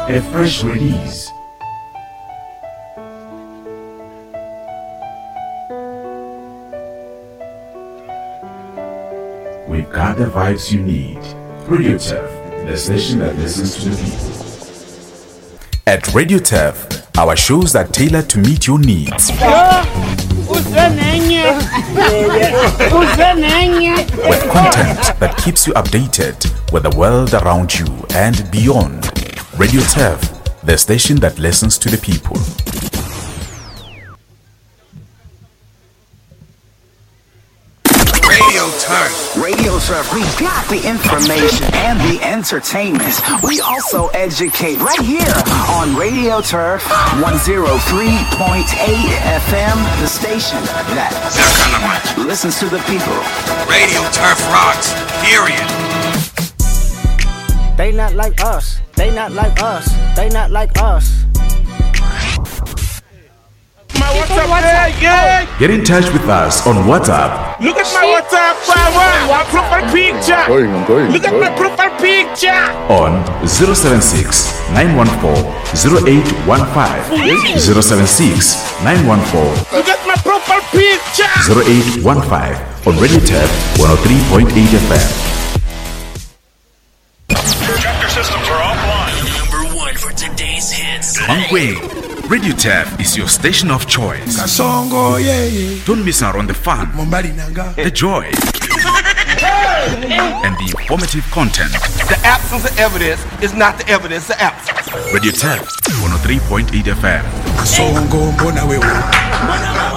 A fresh release. We've got the vibes you need. Radio Turf, the station that listens to the people. At Radio Turf, our shows are tailored to meet your needs. With content that keeps you updated with the world around you and beyond. Radio Turf, the station that listens to the people. Radio Turf. Radio Turf. We got the information and the entertainment. We also educate right here on Radio Turf 103.8 FM, the station that listens to the people. Radio Turf rocks. Period. They not like us. They not like us. They not like us. My WhatsApp, yeah, Get in touch with us on WhatsApp. Look at my WhatsApp, my profile picture. I'm going, I'm going. Look at my profile picture. On 076 914 0815. 076 914 Look at my profile picture. 0815 on Radio Tab 103.8 FM. Chapter systems are offline. Number one for today's hits. Mankweng, Radio Tab is your station of choice. Kasongo, yeah, yeah. Don't miss out on the fun, the joy, and the informative content. The absence of evidence is not the evidence of absence. Radio Tab 103.8 FM. Kasongo, mbona wewe.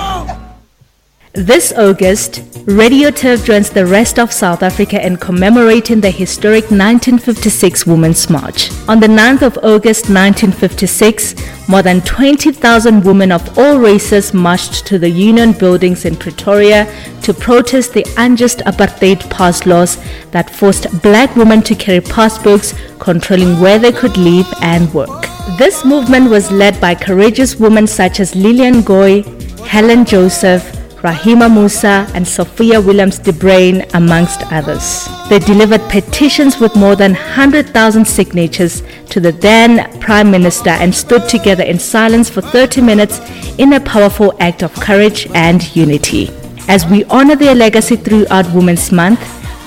This August, Radio Turf joins the rest of South Africa in commemorating the historic 1956 Women's March. On the 9th of August 1956, more than 20,000 women of all races marched to the Union buildings in Pretoria to protest the unjust apartheid pass laws that forced black women to carry passbooks controlling where they could live and work. This movement was led by courageous women such as Lillian Goy, Helen Joseph, Rahima Moosa, and Sophia Williams de Bruyn, amongst others. They delivered petitions with more than 100,000 signatures to the then Prime Minister and stood together in silence for 30 minutes in a powerful act of courage and unity. As we honor their legacy throughout Women's Month,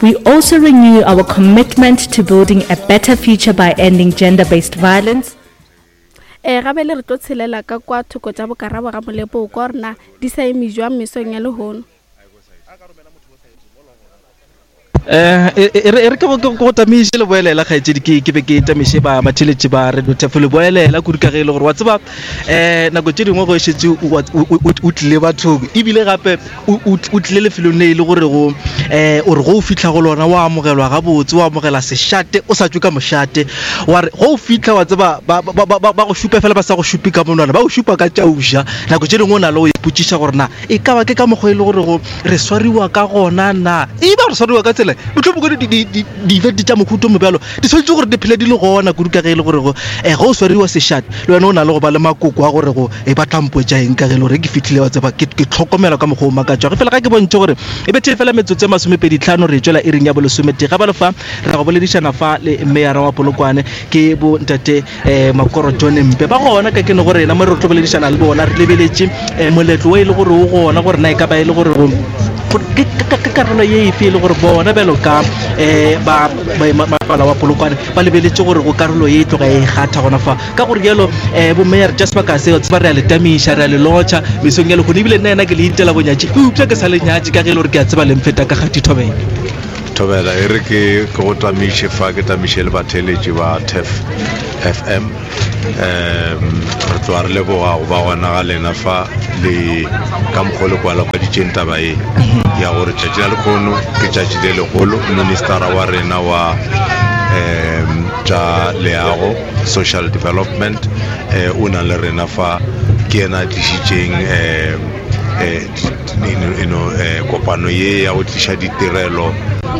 we also renew our commitment to building a better future by ending gender based violence. E, gabele re tlo tshelela ka kwa thoko tša bokarabo ga molepo o kwa gore na di sa eme jwang mesong ya lehono. Eh, e, e, e re ke go tamiše le boelela kgaetšedi ke ke be ke tamiše ba batheletši ba radio tef le boelela kudu ka ge e le gore wa tseba um nako tše dingwe go šetše o tlile bathong ebile gape o tlile lefelong le e le gore go um o re go o fitlha go lona wa amogelwa gabotse wa amogela sešate o sa tšwe ka mošate wa re go o fitlha wa tseba ba go šupe fela ba sa go šupe ka monwana ba go šupa ka tšauša nako tše dingwe o na le go ipotšiša gore na e ka ba ke ka mokgwa e le gore go re swariwa ka gona na e ba re swariwa ka tsela mohlomongwe di-event tša mohuto mo bjalo di swanetše gore di phele di le gona kudu ka ge e le gore go um ge o swariwa sešate le wena o na le go ba le makoko a gore go e ba tlampotša eng ka ge e le gore ke fitlhile wa tseba ke tlhokomela ka mokgwa o makatšwa ge fela ga ke bontšhe gore e bethe fela metsotso e masomepeditlhano re tšwela iring ya bolesometee ga ba le fa re go boledišana fa le meyara wa polokwane ke bo ntate um makoro john mpe ba gona ka kene go rena mo re tlo boledišana le bona re lebeletše um moletlo o e le gore o gona gore na e ka ba e le gore ke karolo ye efe e le gore bona bjalo ka um ba mapala wa polokwane ba lebeletše gore go karolo ye e tloga e gatha gona fa ka gore jalo um eh, bommeyare tša sebaka se tseba re a le tamiša re a le lotšha mesong ya lekgono ebile nna ena ke le intela bonyatši eupša ke sa le nyatše ka ge e le gore ke a tseba lemfeta ka gati thobela thobela e re ke ke go tamiše fa ke tamiše le batheeletši ba tef fm um re tloga re leboga go ba gona ga lena fa le ka mokgwa le kwalakwaditšeng taba e ya gore tšatši la lekgono ke tšatši le legolo ministera wa rena wa um tša leago social development eh, o na le rena fa ke yena a tlišitšeng eh, eh, eh, kopano ye ya go tliša ditirelo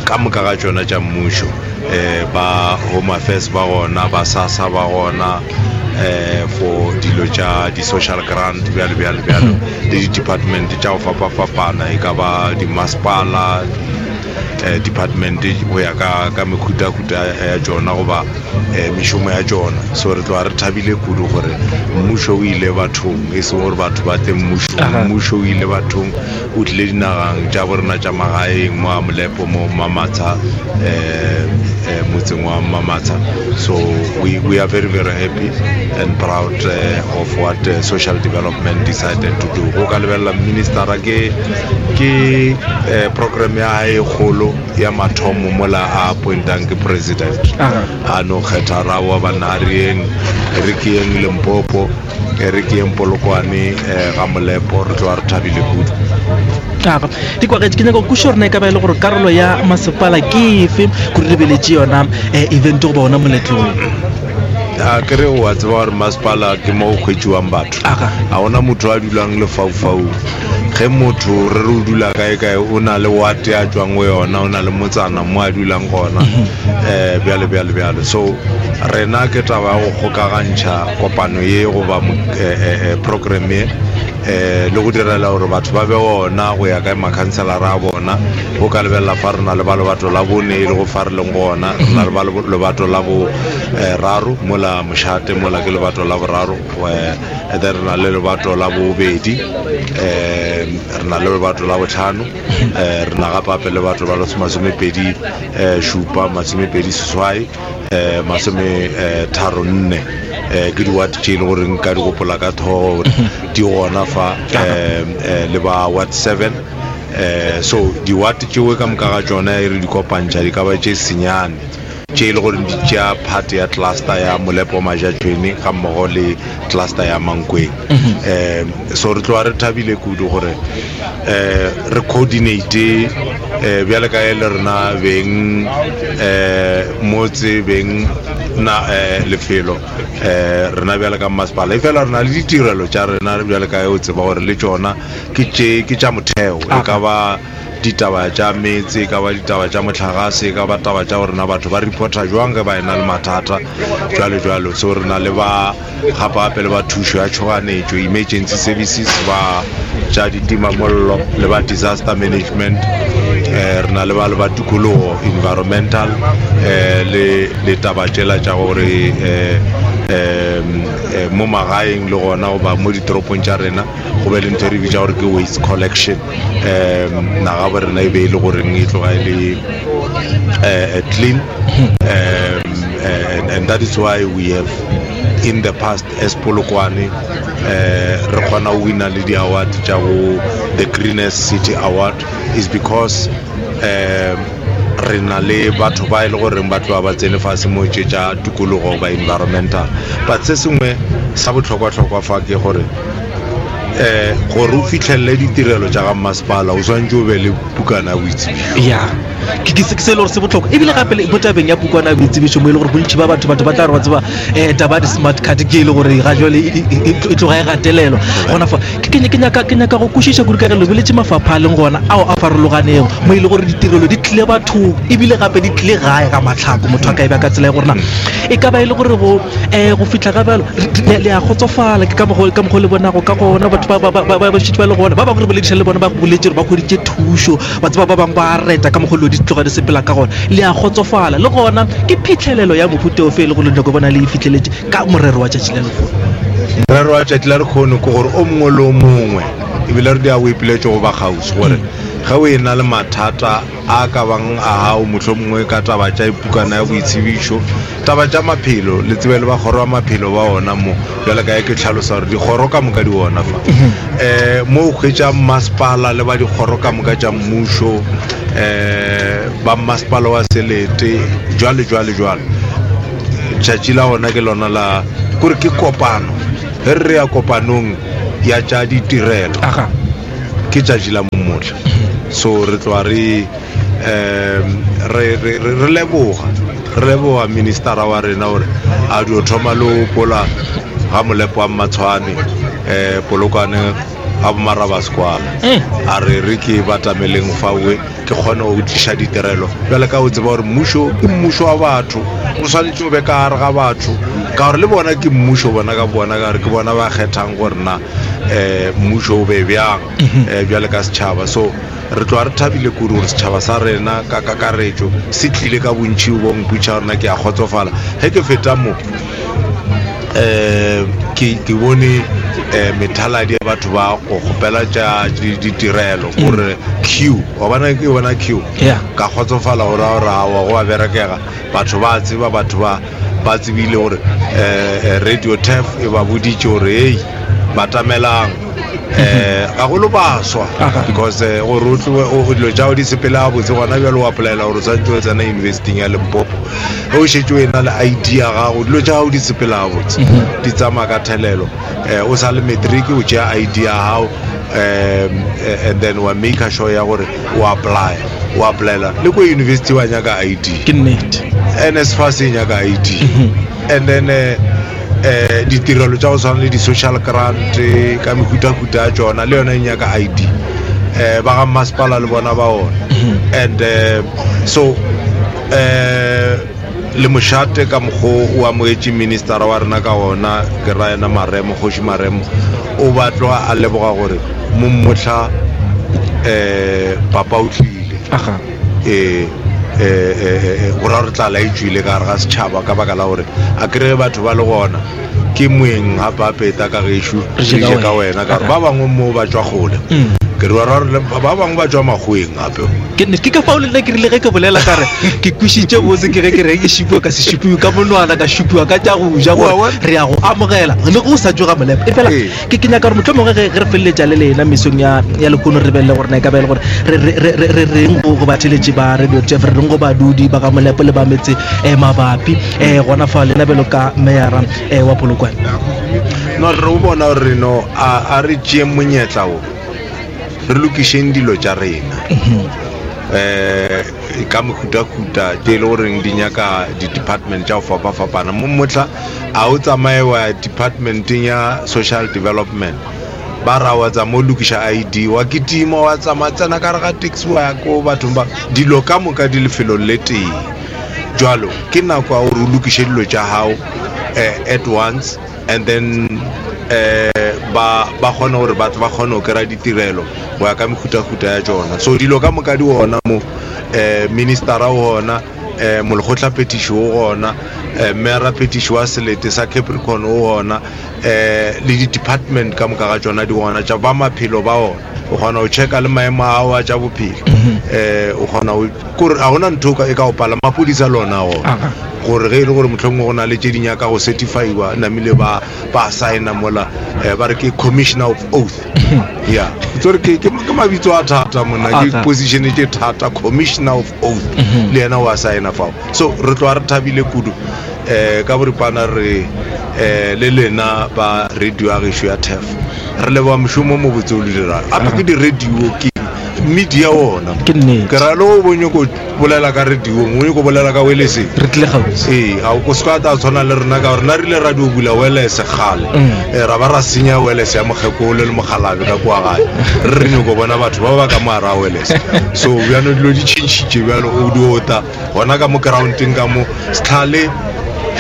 ka moka ga tšona tša mmušo eh, ba home affairs ba gona ba sasa ba gona eh for dilo tša di-social grant bjalo bjalo bjalo le di-department tša go fapafapana e ka ba dimasepala department go ya ka ka mekhutahuta ya tšona goba mešomo ya tšona. So re tloga re thabile kudu gore mmušo o ile bathong, e seng gore batho ba tle mmušong. Mmušo o ile bathong, o tlile dinagang tša borena tša magaeng mo a Molepo mo Mamatsha, motseng wa Mamatsha. So we, we are very very happy and proud of what social development decided to do. Go ka lebelela ministera ke ke program ya hae e kgolo ya mathomo mola a appointang ke president. A no kgetha ra wa banna a re yeng, re ke yeng Limpopo, re ke yeng Polokwane ga Molepo, re tloga re thabile kudu. Aga, di kwagetše ke nyaka go kwešiša gore na e ka ba e le gore karolo ya masepala ke efe gore lebeletše yona event goba ona moletlo wo. A ke re wa tseba gore masepala ke mo go hwetšiwang batho. Ga gona motho a dulang lefaufaung. Ge motho re re o dula kae kae, o na le wate a tšwang go yona, o na le motsana mo a dulang gona, um bjalo bjalo bjalo. So rena ke taba ya go kgokagantšha kopano ye goba program ye, um le go direla gore batho ba be gona go ya ka makhanselara a bona. Go ka lebelela fa re na le ba lebato la bone e lego fa re leng gona, re na le ba lebato la boraro mola mošate, mola ke lebato la boraro, and then re na le lebato la bobedi, um re na le lebato la botlhano, um re na gape gape le batho ba masomepedi šupa, masomepedi seswai, um masome tharo nne. Um ke di-ward tše e le gore nka di gopola ka thogo gore di gona fa, um le ba ward 7. Um so di-ward tšeo ka moka ga tšona e re di kopantšha di ka ba tše senyane tše e le gore di tšea part ya cluster ya Molepo Majatšhwene ga mmogo le cluster ya Mankweng. Um so re tloga re thabile kudu gore um re coordinate um bjale ka e le rena beng um motse beng na um lefelo um rena bjale ka mmasepala, efela re na le ditirelo tša rena bjale ka e o tseba gore le tšona ke tše ke tša motheo, e ka ba ditaba tša meetse, e ka ba ditaba tša mohlagase, e ka ba taba tša gore na batho ba reporta jwang ge ba ena le mathata, jwalo jwalo. So re na le ba gape gape le ba thušo ya tšhoganetšo, emergency services, ba tša ditimamollo le ba disaster management, eh, re na le ba le ba tikologo, environmental, eh, le le taba tšela tša gore eh, eh, eh, mo magaeng le gona goba mo ditoropong tša rena go be le ntho e re bitša gore ke waste collection. Um naga bo rena e be e le goreng e tloga e le clean, and that is why we have in the past as Polokwane re kgona go wina le di-award tša go the greenest city award is because um re na le batho ba e le goreng ba tloga ba tsene fase mo tše tša tikologo ba environmental. But se sengwe sa bohlokwa-hlokwa fa ke gore um gore o fihlelele ditirelo tša ga mmasepala o swanetše o be le pukana ya boitsebišo. Ya, ke ke se ke se e le gore se bohlokwa ebile gape le mo tabeng ya pukwana ya boitsebišo mo e le gore bontši ba batho batho ba tla re wa tseba um taba ya di-smart card ke e le gore ga jwale e, e, e, e tloga e gatelelwa gona fa ke ke ke nyaka ke nyaka go kwešiša kudu ka ge lebeletše mafapha a leng gona ao a farologanego mo e le gore ditirelo di tlile bathong ebile gape di tlile gae ga matlhako motho a ka e ba ka tsela ya gore na e ka ba e le gore go um go fihla ga bjalo le a kgotsofala ke ka mokgo ka mokgo le bonago ka gona batho ba ba ba ba šetše ba le gona ba bangwe re bolediša le bona ba boletše gore ba hweditše thušo ba tseba ba bangwe ba reta ka mokgo dilo di tloga di sepela ka gona le a kgotsofala le gona ke phitlhelelo ya mohuta ofe e le gore le nyako bona le e fitlheletše ka morero wa tšatši la lehono. Morero wa tšatši la lekgono ke gore o mongwe le o mongwe ebile re dia o ipiletše go ba kgauswi gore ge o e-na le mathata a ka bang a gago mohlomongwe ka taba tša pukana ya boitsebišo, taba tša maphelo, le tsebe le ba kgoro ya maphelo ba ona mo, bjale ka ge ke hlalosa gore dikgoro ka moka di ona fa. Um mo o hwetša mmasepala le ba dikgoro ka moka tša mmušo, um ba mmasepala wa selete, jwale jwale jwalo. Tšatši la gona ke lona la kore ke kopano, ge re re ya kopanong ya tša ditirelo. Ke tšatši la momotla. So re tloga re um re re re leboga re leboga ministera wa rena gore a dio thoma le go pola ga molepo wa Mmatshwane um Polokwane ga Bomarabaskwala a re re ke batameleng fawe ke kgone go tliša ditirelo bjale ka o tseba gore mmušo ke mmušo wa batho o swanetše o be ka gare ga batho ka gore le bona ke mmušo bona ka bona ka gore ke bona ba kgethang gore na um mmušo o be bjang um bjale ka setšhaba. So. Re tloga re thabile kudu gore setšhaba sa rena ka kakaretšo se tlile ka bontši bo mpotša gore na ke a kgotsofala. Ge ke feta mo um ke ke bone um methaladi ya batho ba go kgopela tša ditirelo gore queue wa bona ke bona queue ka kgotsofala gore a gore awa go a berekega batho ba tseba batho ba ba tsebile gore um radio tef e ba boditše gore hei batamelang um gagolo baswa because eh, gore o tloe o dilo tša gago di sepele gabotse gona bjalo o apolaela gore o tshwanetse o tsena universityng ya limpopo ge o šetše o e na le id ya gago dilo tša gago di sepela gabotse mhm. di tsamaya ka thelelo um o sa le matric o tšea id ya gago um and then wa make sure ya gore o apply o applyela le ko university wa nyaka id ke nnete nsfas e nyaka id mhm. and then eh, eh ditirelo tša go tshwana le di-social grant ka mehutahuta ya tšona le yona e nyaka id eh ba ga mmasepala le bona ba ona mhm. and eh, so eh le mošate ka mokgo o amogetše ministera wa rena ka ona ke ra yena maremo kgoši maremo o ba tloga a leboga gore mo mmotlha um papa o tlile ee go ra gore tlala e tswile ka gare ga setšhaba ka baka la gore a kry batho ba le gona ke moeng gape a peta ka gešo re je ka wena ka gore ba bangwe mo ba tswa kgole mm. ke re ba bangwe ba tswa makgoweng gape ke ne ke ka fao le nna ke rile ge ke bolela ka re ke kwešiše botse ke ge ke re ke šipiwa ka se šipiwe ka monwana ka šipiwa ka tša go ja gore re ya go amogela le go sa tsoga molepo e fela ke ke nyaka gore motlho mongwe ge re feleletša le lena mesong ya ya lehono re belele gore na e ka ba e le gore re re re re reng go go batheletši ba radio jeff re reng go badudi ba ga molepo le ba metse um mabapi um gona fa lena bjalo ka meyara um wa polokwane no re o bona gore no a re tšeeng monyetla o re lokišeng dilo tša rena um ka mehutahuta tše e le goreng di nyaka di-department tša go fapafapana mo mohla a o tsamaye wa ya departmenteng ya social development ba ra wa tsama o lokiša id wa kitima wa tsamaya tsena ka re ga taxi wa ya ko bathong ba dilo ka moka di lefelong le tee jalo ke nako ya gore o lokiše dilo tša gago um at once and then um ba ba kgone gore batho ba kgone go kry-a ditirelo go ya ka mehutahuta ya tšona so dilo ka moka di gona mo um ministera o gona um molekgotlaphethiši o gona um meyaraphethiši wa selete sa capricorn o gona um le di-department ka moka ga tšona di gona tša ba maphelo ba ona o kgona go checka le maemo a gago a tša bophelo um o kgona kore ga gona ntho e ka go pala maphodisa le ona gona gore ge e le gore mohlomongwe go na le tše di nyaka go certifyiwa namile ba ba signa mola um ba re ke commissioner of oath ya tsore ke ke mabitso a thata monna ke position tše thata commissioner of oath mhm. le yena wa signa fao so re tloga re thabile kudu um ka boripana re um le lena ba radio ya gešo ya tef re leboga mošomo mo botse o le dirang gape ke di-radio ke media ona ke nnete ke ra le o bonye ko bolela ka radiong o nyako bolela ka weleseng re tlile gausi ee ga o se ka ta tshwana le rena ka gore rena re ile ra dio bula welese kgale mm. eh, ra ba ra senya welese ya mokgekolo le mokgalabe ka kua gae re re nyako bona batho ba ba ka mo gara welese so bjano dilo di tšhintšhitše bjalo o dio ta gona ka mo groundeng ka mo setlhale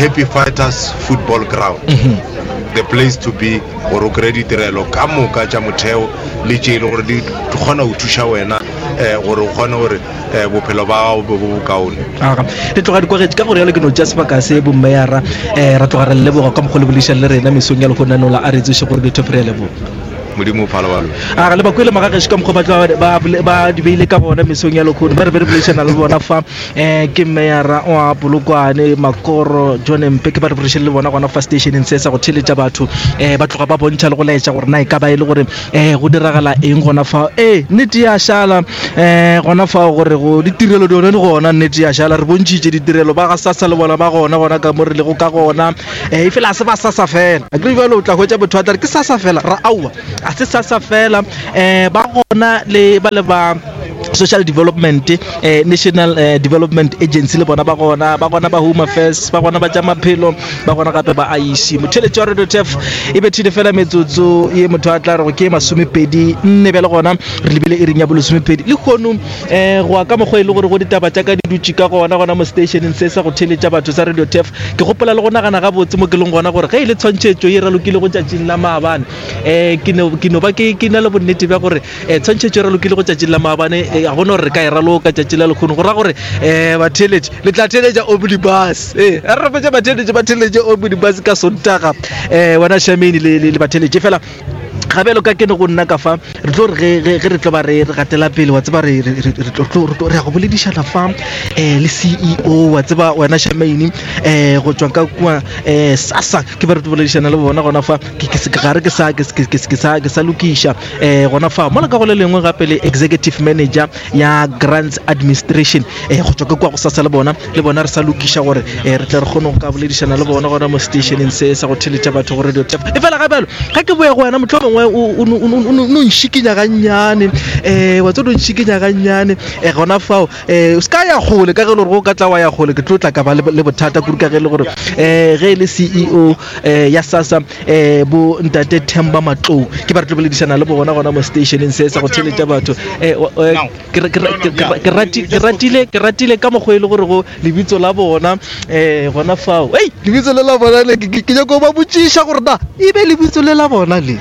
happy fighters football ground mm -hmm. the place to be gore o kry-e ditirelo ka moka tša motheo le tše e le gore di kgona go thuša wena um gore o kgone gore um bophelo ba gago bo bo bokaone aga re tloga dikwagetše ka gore yalo ke no tša sebaka se bommeyara um ra tloga re leboga ka mokgwa le boledišang le rena mesong ya lehono la a re tsoše gore ditho re a leboga modimo o phala balo aga le bakwele magagešo ka mokgwa ba tloga ba di beile ka gona mesong ya lekgono ba re be re boledišana le bona fa um ke meyara wa polokwane makoro john mpe ke ba re boledišane le bona gona fa stationeng se sa go theletša batho um ba tloga ba bontšha le go laetša gore na e ka ba e le gore um go diragala eng gona fao ee nnete ya šala um gona fao gore go ditirelo di one di gona nnete ya šala re bontšhitše ditirelo ba ga sasa le bona ba gona gona ka mo re lego ka gona um e fela a se ba sasa fela a kere jalo o tla hwetša motho a tla re ke sasa fela ra aowa a se sasa fela um ba gona le ba le ba Social Development, eh, National eh, Development Agency le bona ba gona, ba gona ba Home Affairs, ba gona ba tša maphelo, ba gona gape ba IEC. Motheletši wa Radio Turf e bethile fela metsotso ye motho a tla rego ke 24 bjale gona re lebile iring ya bolesomepedi lehono. Um go ya ka mokgwa e le gore go ditaba tša ka di dutše ka gona gona mo stationeng se sa go theletša batho sa Radio Turf, ke gopola le go nagana gabotse mo ke leng gona gore ge e le tshwantšhetšo ye ralokile go tšatšing la maabane, um ke no ke no ba ke ke na le bonnete bja gore um tshwantšhetšo e ralokile go tšatšing la maabane, ga gona gore re ka e raloka tšatši la lekgono. Go ra gore um batheeletši le tla theeletša omnibus, ee re rapetše batheeletši ba theeletše omnibus ka Sontaga, um wena Shamane le batheeletši fela ga bjalo ka kene go nna ka fa re tlo re ge re tlo ba re re gatela pele wa tseba re re re tlo re ya go boledišana fa um le CEO wa tseba wena Shamaine um go tšwa ka kua um SASSA ke ba re tlo boledišana le bona gona fa ga re ke sa ke sa ke sa lokiša um gona fa mola ka go le lengwe gape le executive manager ya grants administration um go tšwa ka kua go SASSA le bona le bona re sa lokiša gore um re tle re kgone go ka boledišana le bona gona mo stationeng se sa go theletša batho go radio tap. E fela ga bjalo ga ke boya go wena motlho mongwe o no nšikinya gannyane, um wa tse o no nšikinya gannyane um gona fao, um o se ka ya kgole ka ge e le gore go ka tla wa ya kgole ke tlo tla ka ba le bothata kudu ka ge e le gore um ge e le CEO um ya SASSA um bo ntate Themba Matlou ke ba re tlo boledišana le bona gona mo stationeng se sa go theletša batho. Um ke ratile ka mokgwa e le gore go lebitso la bona um gona fao, ei lebitso le la bona le ke nyako ba botšiša gore na e be lebitso le la bona le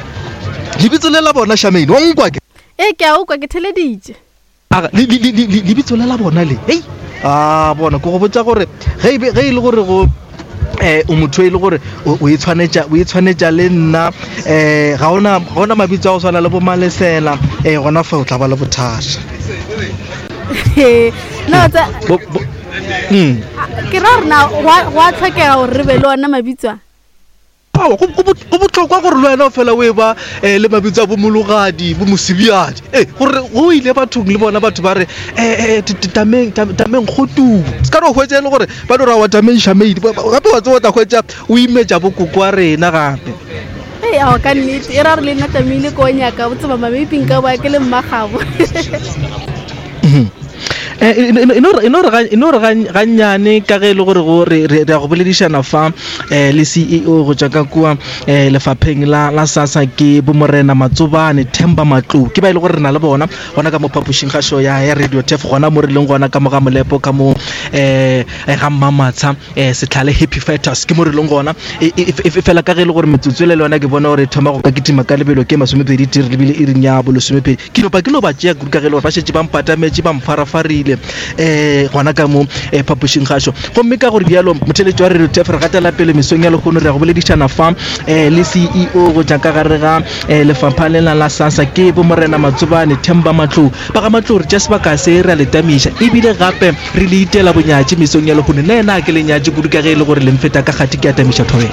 lebitso le la bona Shamaine wa nkwa ke? Ee, ke a o kwa, ke theleditše. Aga lebitso le la bona le, ei a bona ke go botša gore ge e le gore go eh o motho e le gore o e tshwanetša o e tshwanetša le nna, eh ga ona mabitso a go swana le bo Malesela, eh gona fa o tla ba le bothata. No tsa ke ra rena go a tlhokega gore re be le ona mabitso a. Aowa, go, go, go bohlokwa gore le wena o fela o e ba um le mabitso a bomologadi, bomosebiadi. Ee, gore go ile bathong le bona batho ba re um tameng, tameng kgotubu. Se ka no hwetša e le gore ba no ra wa tameng šameidi. Gape wa tseba o tla hwetša o imetša bokoko wa rena gape. Ee, aowa ka nnete, e ra gore le nna tlamehile ko nyaka o tseba mabepi nka boa ke le mmagabo. Eh, e no re gannyane ka ge e le gore go re ya go boledišana fa um le CEO go tšwa ka kua um lefapheng la SASSA ke bomorena Matsobane Themba Matlou ke ba e le gore re na le bona gona ka mo phapošing kgašo ya Radio Turf gona mo re leng gona ka mo ga Molepo ka mo um ga Mmamatsha um Setlhale Happy Fighters ke mo re leng gona. Efela ka ge e le gore metsotso ele le yona ke bona gore e thoma go ka kitima ka lebelo ke 20 tee re lebile iring ya bolesomepedi ke no ba ke no ba tšea kudu ka ge e le gore ba šetše ba mpatametše ba mfarafarile um gona ka mo um phapošing gašo. Gomme ka gore bjalo motheletši wa Radio Turf re gatela pele mesong ya lehono re ya go boledišana fa um le CEO go tša ka gare ga um lefapha lela la SASSA ke bomorena Matsobane Themba Matlou. Ba ga Matlou re tša sebaka se re a le tamiša ebile gape re le itela bonyatši mesong ya lehono. Le yena a ke le nyatše kudu ka ge e le gore le mfeta ka kgati ke a tamiša thobela.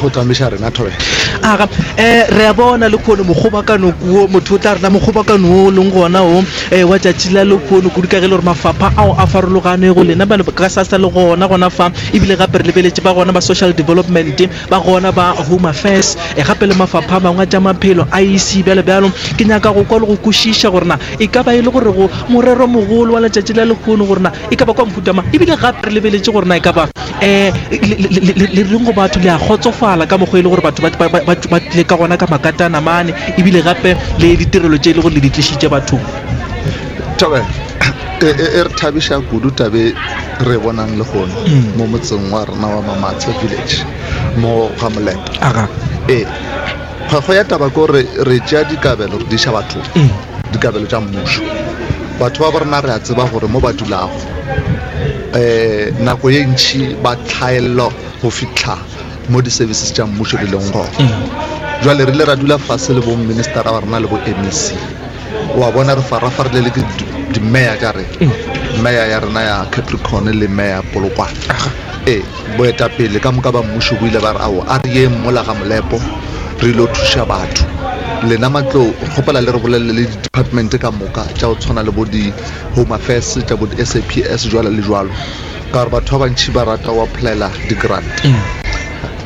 Go tamiša rena thobela. Aga, um re a bona lekhono mokgobakano kuo motho o tla rena mokgobakano wo o leng gona o um wa tšatši la lekhono kudu ka ge e le gore mafapha ao a farologanego lena ba ka SASSA le gona gona fa ebile gape re lebeletše ba gona ba social development ba gona ba Home Affairs e gape le mafapha a mangwe a tša maphelo, IEC, bjalo bjalo. Ke nyaka go kwa le go kwešiša gore na e ka ba e le gore go morero mogolo wa letšatši la lehono gore na e ka ba kwa mohuta mang, ebile gape re lebeletše gore na e ka ba um le reng go batho, le a kgotsofala ka mokgwa e le gore batho ba tlile ka gona ka makatana mane, ebile gape le ditirelo tše e le gore le di tlišitše bathong. Thobela, e, e, e re thabiša kudu tabe re e bonang lehono mo motseng wa rena wa Mamatshe Village mo ga Molepo. Aga. Ee, kgwekgwe ya taba ke gore re tšea dikabelo re di iša bathong, dikabelo tša mmušo. Batho ba bo rena re a tseba gore mo ba dulago um nako ye ntši ba tlhaelelwa go fihla mo di-services tša mmušo di leng gona. Jwale re ile ra dula fase le bo ministera ba rena le bo MEC. Wa bona re farafarile le ke di-mayor tša rena, mayor ya rena ya Capricorn le mayor ya Polokwane. Ee, boetapele ka moka ba mmušo bo ile ba re aowa, a re yeng mola ga Molepo re ilo thuša batho. Lena Matlou, re kgopela le re bolelele le di-department ka moka tša go tshwana le bo di-Home Affairs, tša bo di-S_A_P_S jwalo le jwalo, ka gore batho ba bantši ba rata go applyela di-grant.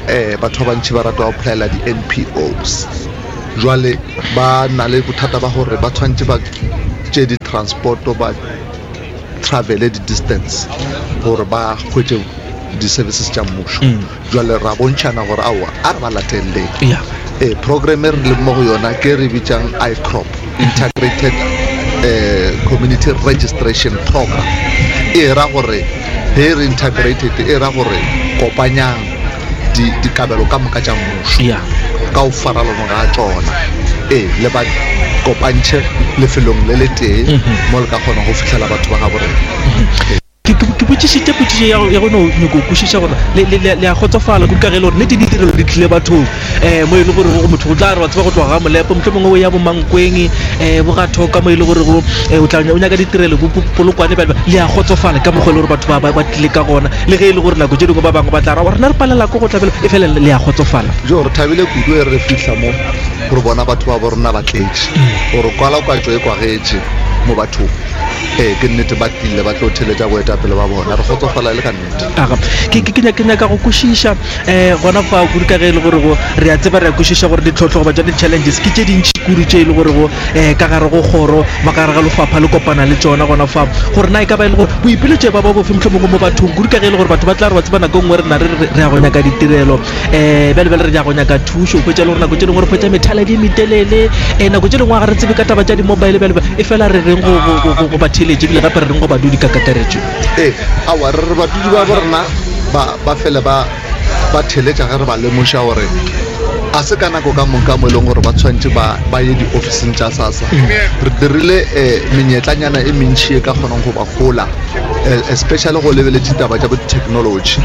Ee, batho ba bantši ba rata go applyela di-N_P_Os. Jwale ba na le bothata ba gore ba tshwanetse ba tše di-transporto ba travele di-distance gore ba hwetše di-services tša mmušo mm. jale ra bontšhana gore aowa a re ba lateleleng ee program e re leng mo go yona ke re bitsang icrop integrated eh, community registration program e ra gore ge re integrated e ra gore kopanyang dikabelo ka moka tša mmušo ka go farolana ga tšona ee le ba kopantšhe lefelong le le tee mhm. mo le ka kgona go fitlhela batho ba gabo rena mhm. Ke botšišitše potšišo ya go no nyako kwešiša gore le a kgotsofala kudu ka ge e le gore nnete ditirelo di tlile bathong um mo e le gore go motho go tla re wa tseba go tloga ga molepo motlho mongwe o ya bomankweng um bo ga thoka mo e le gore go o tla o nyaka ditirelo bo polokwane bjale le a kgotsofala ka mokgwa e le gore batho ba tlile ka gona le ge e le gore nako tše dingwe ba bangwe ba tla ra rena re palela ko go tlabelo e fela le a kgotsofala jo re thabile kudu e re fihla mo re bona batho ba bo rena ba tletše gore kwalakwatšo e kwagetše mo bathong ee ke nnete ba tlile ba tlo theletša boetapele ba bona re kgotsofala e le ka nnete aga ke nyaka go kwešiša um gona fa kudu ka ge e le gore go re a tseba re a kwešiša gore ditlhohlo goba tša di-challenges ke tše dintši kudu tše e le gore go um ka gare go kgoro ba ka gare ga lefapha le kopana le tšona gona fa gore na e ka ba e le gore boipiletšo ba ba bofe mohlomongwe mo bathong kudu ka ge e le gore batho ba tla re ba tseba nako e nngwe re na re re ya go nyaka ditirelo um bjale bjale re ya go nyaka thušo hwetša le gore nako tše dingwe re hwetša methaladi e metelele um nako tše dingwe ga re tsebe ka taba tša di-mobile bjale e fela re reng go batheeletše ebile gape re reng go badudi ka kakaretšo ee aowa re re badudi ba bo rena ba fele ba ba theletša ge re ba lemoša gore a se ka nako ka moka mo e leng gore ba tshwanetse ba ba ye diofising tša sasa re dirile um menyetlanyana e mentšhi e ka kgonang go ba gola eh, especially go lebeletše taba tša bo technology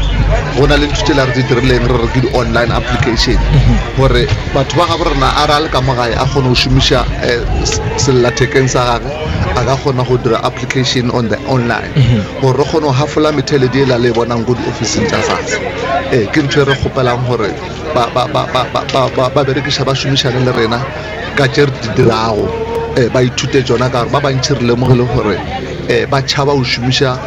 go na le ntho tšela re di dirileng re re ke di-online application gore batho ba gabo rena a re a le ka mo gae a kgone go šomiša eh, sellathekeng sa gage a ka kgona go dira application on the online gore re kgone go hafola metheledi e la le e bonang ko diofising tša sasa ee ke ntho e re kgopelang gore ba berekiša ba šomišane le rena ka tše re di dirago um ba ithute tšona ka gore ba bantšhi re lemogile gore um ba tšhaba go šomiša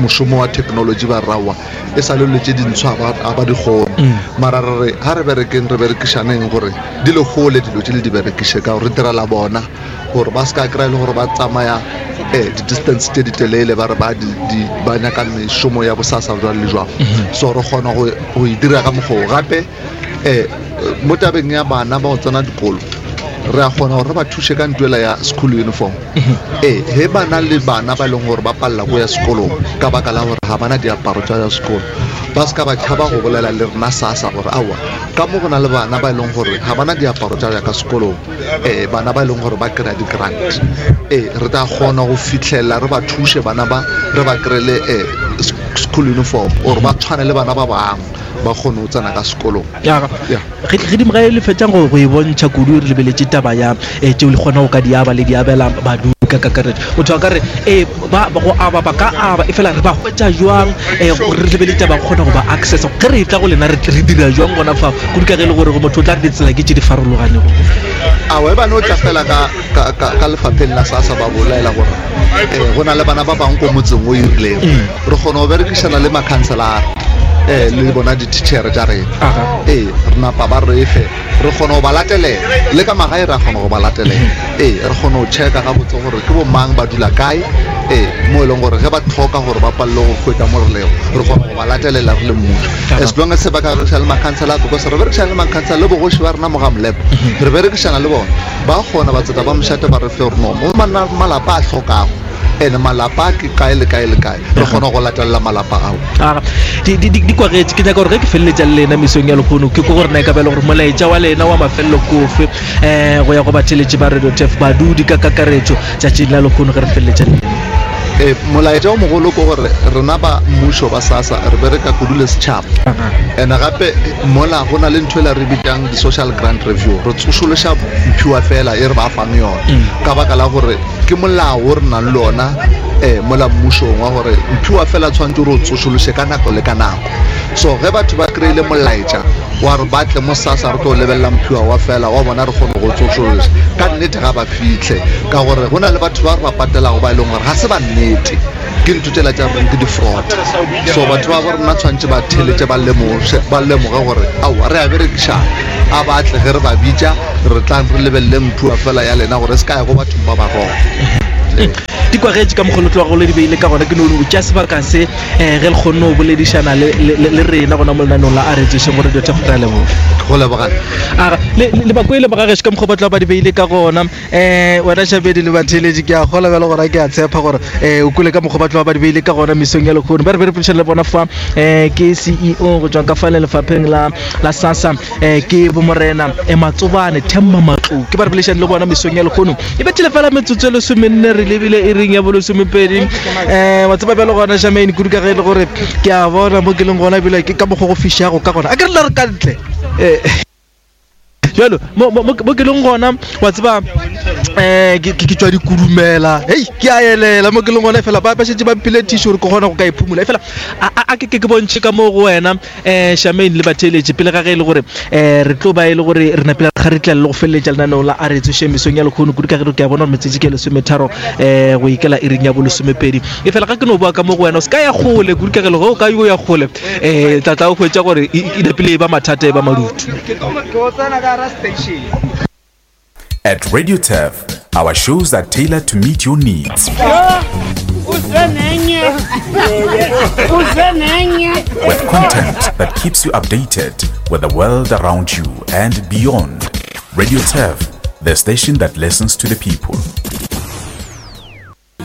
mošomo wa technology ba rawa e sa le dilo tše dintshwa ga ba di kgone mm. mara re re ga re berekeng re berekišaneng gore di le gole dilo tše le di berekiše ka gore re direla bona gore ba se ka kry-a le gore ba tsamaya um di-distance tše di telele ba re ba nyaka mešomo ya bosasa jwang le jwang mhm. so re kgona go e dira ka mokgoo gape um mo tabeng ya bana ba go tsena dikolo re a kgona gore re ba thuše ka ntwela ya school uniform mhm. ee he ba na le bana ba e leng gore ba palela ko ya sekolong ka baka la gore ga bana diaparo tša ya sekolo ba se ka ba tšhaba go bolela le rena sasa gore aowa ka mo go na le bana ba e leng gore ga bana diaparo tša ya ka sekolong um bana ba e leng gore ba kry-a di-grant ee re tla kgona go fitlhelela re ba thuše bana ba re ba kry-ele um school uniform gore ba tshwane le bana ba bangwe ba kgone go tsena ka sekolong gedimo ga e le fetšang go e bontšha kudu re lebeletše taba ya um tšeo le kgona go ka di aba le di abela badudi ka kakaretšo motho a ka re ee ba go aba ba ka aba e fela re ba hwetša jwang um re lebeletše taba kgona go ba access ge re tla go lena re dira jwang gona fa kudu ka ge e le gore motho o tla re ditsela ke tše di farologanego awa e bane o tla fela ka lefapheng la sasa ba bolaela gore um go na le bana ba bangwe ko motseng o irileng mm. re kgona go berekišana le makhanselara um le bona di-teachere tša rena ee re napa ba re fe re kgona go ba latelela le ka magae re a kgona go ba latelela ee re kgona go checka gabotse gore ke bo mang ba dula kae ee mo e leng gore ge ba tlhoka gore ba palele go hwetša mo re lego re kgona go ba latelela re le mmušo as long as ba ka berekišana le makhansela because re berekišana le makhansela le bogoši ba rena mo ga molepo re berekišana le bona ba kgona batseta ba mošate ba re fe gore no mo malapa a hlokago ene malapa ke kae le kae le kae re kgona go latelela malapa ao di kwagetše ke nyaka gore ge ke feleletša le lena mesong ya lehono ke ko gore na e ka ba e le gore molaetša wa lena wa mafelelo kofe um go ya go batheletše ba radio tef badudi ka kakaretšo tšatšing la lehono ge re feleletša le lena ee molaetša o mogolo ke gore rena ba mmušo ba sasa re bereka kudu le setšhaba and gape mola go na le ntho e la re bitšang di-social grant review re tsošološa mphiwa fela e re ba fang yona mm. ka baka la gore ke molao o re nang le ona um mola mmušong wa gore mphiwa fela tshwanetse gore o tsošološe ka nako le ka nako so ge batho ba kry-ile molaetša wa re ba tle mo sasa re tlo lebelela mphiwa wa fela wa bona re kgone go tsošološa ka nnete ga ba fitlhe ka gore go na le batho ba re ba patelago ba e leng gore ga se ba nnete ke ntho tsela tša reng ke di-fraud so batho ba bo rena tshwanetse ba theletše ba lemoge gore aowa re a berekišana a ba tle ge re ba bitša re tlang re lebelele mphiwa fela ya lena gore se ka ya go bathong ba ba wrong. Di kwagetše ka mokgwa le tlogago le di beile ka gona. Ke no o tšea sebaka se um ge le kgonne go boledišana le rena gona mo lenaneong la a re tsošeng go Radio Turf. Re a leboga. Go lebogana. Aga, le bakwele ba gagešo ka mokgwa ba tloga ba di beile ka gona. Um wena Šabedi le batheeletši, ke a kgola bjale gora ke a tshepa gore um o kwele ka mokgwa ba tloga ba di beile ka gona mesong ya lehono. Ba re be re poledišana le bona fa um ke CEO go tšwa ka fa le lefapheng la la SASSA um ke bomorena um Matsobane Themba Matlou, ke ba re boledišane le bona mesong ya lehono. E bethile fela metsotso e lesomenne re lebile e reng ya bolesomepedi. Um wa tseba bjale gona Shamaine, kudu ka ge e le gore ke a bona mo ke leng gona ebile ke ka mokgwa go fišago ka gona, a ke re la re ka ntle um jalo mo ke leng gona wa tseba um ke tswa dikurumela, hei ke a elela mo ke leng gona, fela ba šetše ba mphile tissue gore ke kgona go ka iphumola. E fela a ke bontšhe ka mo go wena um Shamaine le batheeletše, pele ga ge e le gore um re tlo ba e le gore re napile ga re tlela le go feleletša lenaneo la a re tsoše mesong ya lekgono, kudu ka ge ke a bona gore metsotso ke lesometharo um go ikela iring ya bolesomepedi. E fela ga ke no boa ka mo go wena, o se ka ya kgole kudu ka ge le ge o ka yo ya kgole um tla o hwetša gore e napile e ba mathata e ba madutu. At Radio Turf, our shows are tailored to meet your needs. With content that keeps you updated with the world around you and beyond. Radio Turf, the station that listens to the people.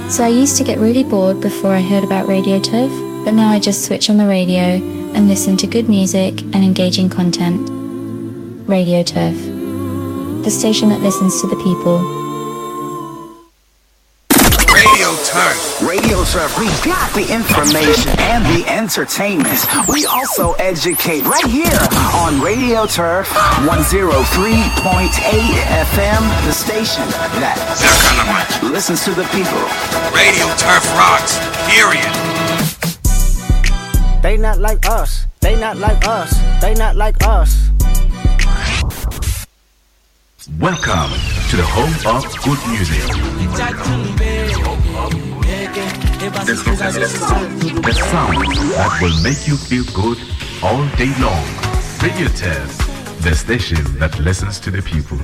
So I used to get really bored before I heard about Radio Turf, but now I just switch on the radio and listen to good music and engaging content. Radio Turf, the station that listens to the people. Radio Turf. Radio Turf, we got the information and the entertainment. We also educate right here on Radio Turf 103.8 FM, the station that listens to the people. Radio Turf rocks, period. They not like us. They not like us. They not like us. Welcome to the home of good music. The sound that will make you feel good all day long. Radio Turf, the station that listens to the people.